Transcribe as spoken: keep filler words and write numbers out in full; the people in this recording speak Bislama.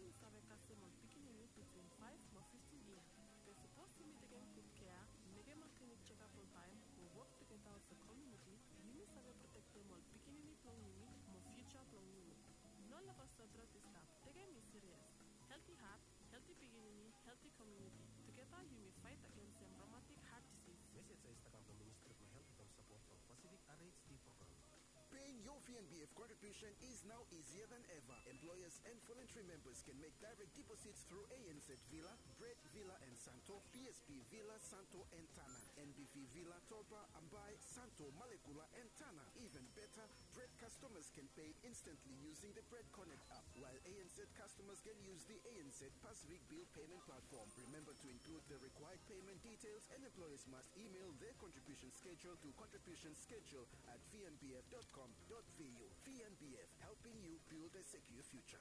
Yumi save kasem ol pikinini bitwin faef mo fiftin yia. Be sapos yumi tekem gud kea, mekem ol klinik jekap oltaem mo wok tugeta olsem komuniti, yumi save protektem ol pikinini blong yumi mo fiuja blong yumi. No lebo sebret i stap. Tekem i sirias. Helti hat, helti pikinini, helti komuniti. Tugeta yumi faet agensem romatik hat disis. Mesej ya i stap kam from Ministri blong Helt wetem sapot from Pacific R H D program. Paying your V N B F contribution is now easier than ever. Employers and voluntary members can make direct deposits through A N Z Vila, Bread Vila and Santo, P S B Vila, Santo and Tana, N B V Vila, Tolpa, Ambae, Santo, Malekula and Tana. Even better, Bread customers can pay instantly using the Bread Connect app, while A N Z customers can use the A N Z Pacific Bill Payment Platform. Remember to include the required payment details, and employers must email their contribution schedule to contribution schedule at V N B F dot com dot V U. V N B F, helping you build a secure future.